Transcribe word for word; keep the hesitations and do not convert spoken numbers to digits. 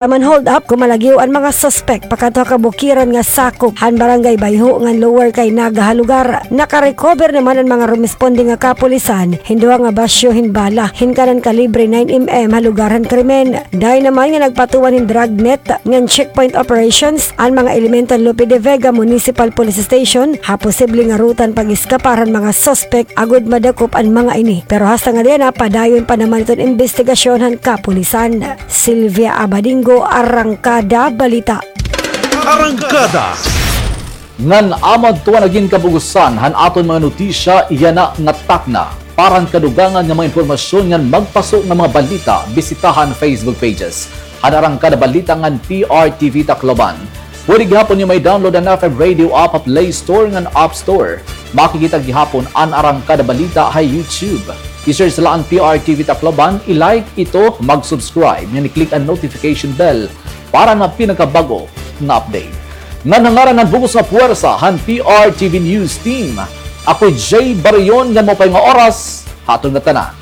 Taman hold up, gumalagiw an mga suspek pakadto ha kabukiran nga sakop han Barangay Bayho ngan Lower Caynaga ha lugar. Nakarecover naman an mga rumisponde nga kapulisan hin duha nga basyo hin bala hin kanan kalibre nine M M ha lugar han krimen. Dayon naman nga nagpatuan hin dragnet ngan checkpoint operations an mga elemento han Lope de Vega Municipal Police Station ha posible nga ruta han pag-eskapar han mga suspek agod madakop an mga ini. Pero hasta ngada yana, padayon pa naman iton imbestigasyon han kapulisan. Sylvia Abadingo, Arangkada Balita. Arangkada. Ngan amo adto an nagin kabug-osan han aton mga notisya yana nga takna. Para han kadugangan nga mga impormasyon ngan magpaso nga mga balita, bisitaha an Facebook pages han Arangkada Balita ngan P R T V Tacloban. Pwede gihapon niyo mai-download an F M Radio app ha Play Store ngan App Store. Makikita gihapon an Arangkada Balita ha YouTube. I-search la an P R T V Tacloban, i-like ito, mag-subscribe, ngan i-click an notification bell para han mga pinakabag-o nga update. Ngan ha ngaran han bug-os nga puwersa han P R T V News Team, ako hi Jay Barion, ngan maupay nga oras ha aton ngatanan.